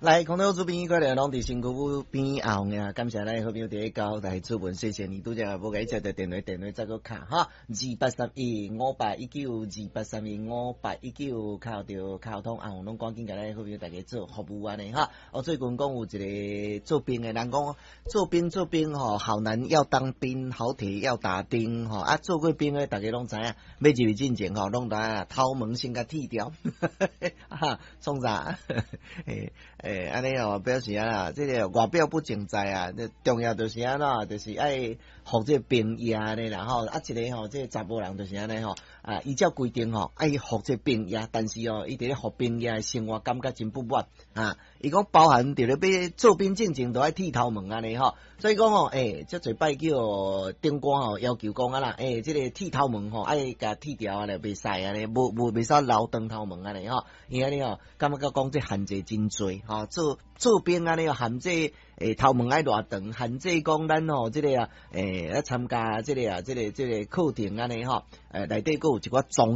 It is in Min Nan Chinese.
來，空中主編快樂攏佇身軀邊阿紅呀，感謝咱好朋友佇咧交台主文，謝謝你拄則無共伊接著電話，電話再閣敲哈，28315819，28315819，敲著敲通，阿紅攏趕緊共咱好朋友大家做服務按呢哈。我最近講有一個做兵的人講，做兵做兵吼，好男要當兵，好鐵要打釘吼。啊，做過兵的大家攏知影，欲入去進前吼，攏知影頭毛先共剃掉，哈，創啥？欸欸，按呢哦，表示啊，這個外表不淨在啊，重要就是按怎，就是愛服這個兵役按呢啦吼。啊，一個吼，這個查埔人就是按呢吼，啊，依照規定吼，愛服這個兵役，但是哦，伊佇咧服兵役的生活感覺真不滿啊。伊講包含佇咧欲做兵進前都愛剃頭毛按呢吼，所以講吼，欸，遮濟擺叫長官吼要求講啊啦，欸，這個剃頭毛吼愛共剃掉按呢，袂使按呢，無無袂使留長頭毛按呢吼，伊按呢吼，感覺講這限制真濟吼，做做兵按呢限制欸頭毛愛偌長，限制講咱吼這個啊，欸，來參加這個啊，這個這個課程按呢吼，欸，內底閣有一寡宗